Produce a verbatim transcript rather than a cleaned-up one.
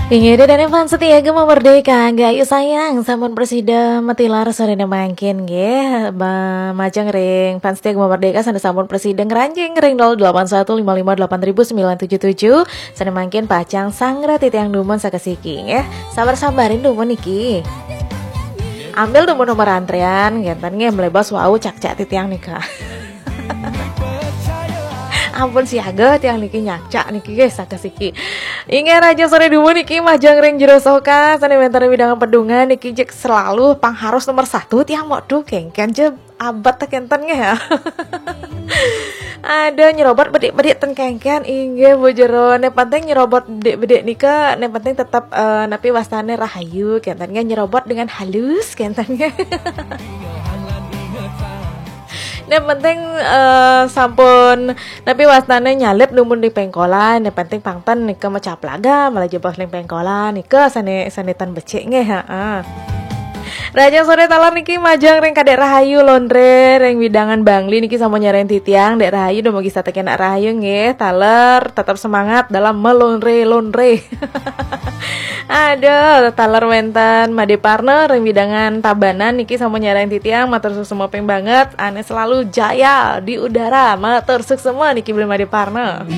Inggih, ida dané fans setia Gema Merdeka, Gayu sayang, sampun prasida matilar soréné mangkin nggih. Ba-, majeng ring fans setia Gema Merdeka sané sampun prasida ngranjing ring nol delapan satu lima lima delapan ribu sembilan tujuh tujuh, sané mangkin pacang sangra titiang dumun sakasiki nggih. Sabar-sabarin dumun niki. Ambil dumun nomor antrian, ngénten nggih, mlebos wau cak-cak titiang nika. Ampun siaga tiang niki nyakcak niki nggih sakasiki. Inggih, rahajeng soré dumun niki majeng ring Jero Soka sané wénten ring wewidangan Pedungan niki jek selalu pangharus nomor satu tiang mok tu kéngkén ja abet kénten nggih ya. Ada nyerobot bedik-bedik ten kéngkén inggih Bu Jero. Né penting nyerobot bedik-bedik nika, né penting tetep eh, napi wastané rahayu kénten nggih, nyerobot dengan halus kénten nggih. Né penting eh, sampun napi wastané nyalip dumun di péngkolan, né penting pang ten nika macaplaga malah jebos ring péngkolan nika sané sané tan becik nggih, heeh. Rahajeng soré taler niki majeng ring Kadék Rahayu Londré ring wewidangan Bangli niki sampun nyarengin titiang, Dék Rahayu dumugi satekén rahayu nggih, taler tetap semangat dalam melondré-londré. Aduh, taler wénten Madé Parna ring wewidangan Tabanan niki sampun nyarengin titiang, matur suksma ping banget, ané selalu jaya di udara, matur suksma niki Beli Madé Parna.